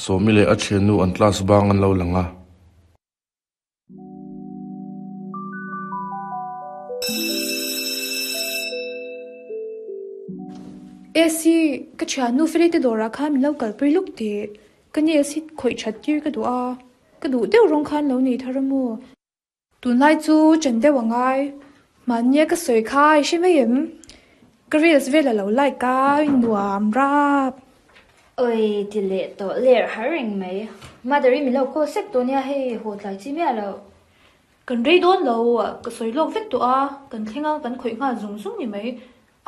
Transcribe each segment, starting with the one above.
Sawmi leh a thiannu an class bang an lo lang a. AC, ka thiannu Felite dawrah khan min lo kalpui luk tih ka nails hi khawih that tir ka duh a, ka duh deuh rawng khan lo nei thar a maw? Tunlai chu chen deuh a ngai, mahnia ka sawi kha i hre mai em? Ka reels vel a lo like a, i nuam rap. Oi ti leh tawh ler har reng mai. Mother i min lo call sek tawh nia hei haw tlai chi miah loh. Kan rei dawn lo, ka sawi lawk vek tawh a, kan thleng a kan khawih nghal zung zung ni mai.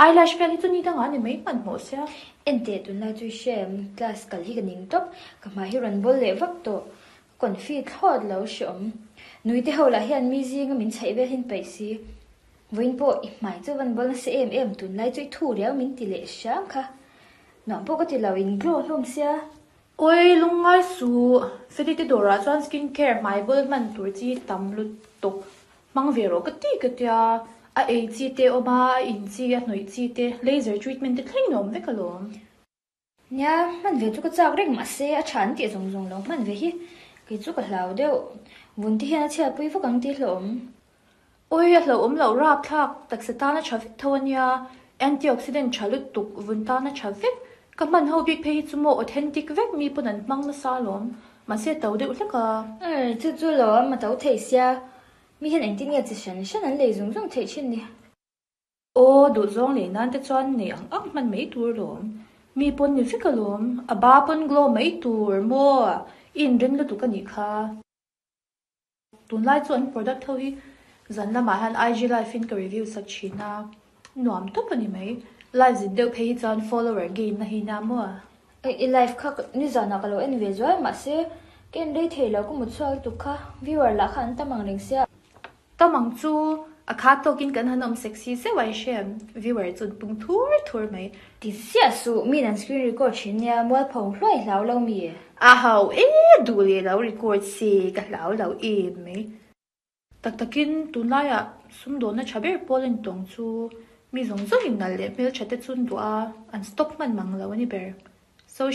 Eyelash vel hi chu ni dangah a ni mai hmanhmawh sia. Enteh tunlai chu i hre em, class kal hi ka ning tawp, ka hmai hi rawn bawl leh vak tawh. Confi thlawt lo hreawm. Nui te ho lah hian mi zinga min chhaih vel hin paih si. Vawiin pawh i hmai chu van bawl nasa em em tunlai chu i thu riau min ti leh hram kha. Nuam pawh ka ti lo in glow hlawm sia. Oi lungngai suh, Feli te dawrah chuan skin care hmai bawl hman tur chi tam lutuk hmang ve rawh ka ti ka tia. A ei chi te awm a, a in chi, a hnawih chi te, laser treatment te thlengin a awm vek alawm. Nia, hman ve chu ka chak reng mahse a tha an tih zawng zawng lo hman ve hi kei chu ka hlau deuh. Vun te hian a chhiatpui vak ang tih hlauhawm. Awi a hlauhawm loh rapthlak taksa tana tha vek tho ania, antioxidant tha lutuk vun tana tha vek, ka hman ho bik phei hi chu maw authentic vek mi pawn an hmang nasa alawm, mahse a to deuh hlek a. Chu chu lo a to thei sia, mi hian engtin nge chi hran hran an lei zung zung theih thin ni. Aw, duhzawng leh nan te chuan nei ang ang hman mai tur alawm. Mi pawn ni vek alawm, a ba pawn glow mai tur maw? I inring lutuk a nih kha. Tunlai chu an product ho hi zan lamah hian IG live in ka review sak thin a, nuam tawp a ni mai. Live zin deuh phei hi chuan follower gain na hi nia maw? I live kha nizanah ka lo en ve zuai mahse ka en rei thei lo ka mut chhuak lutuk kha viewer lah kha an tam ang reng sia. Tam ang chu a khat tawkin kan han awm sexy zeuh a i hre em? Viewer chu an pung thur thur mai. Ti ziah suh, min an screen record thin nia, mualpho hluai hlau lo mi? A hau e, duh leh lo record se ka hlau lo em mai. Tak takin tunlaiah sumdawnna tha ber pawl a ni tawng chu mi zawng zawngin nalh leh hmeltha te chu an duh a, an stop hman mang lo a ni ber.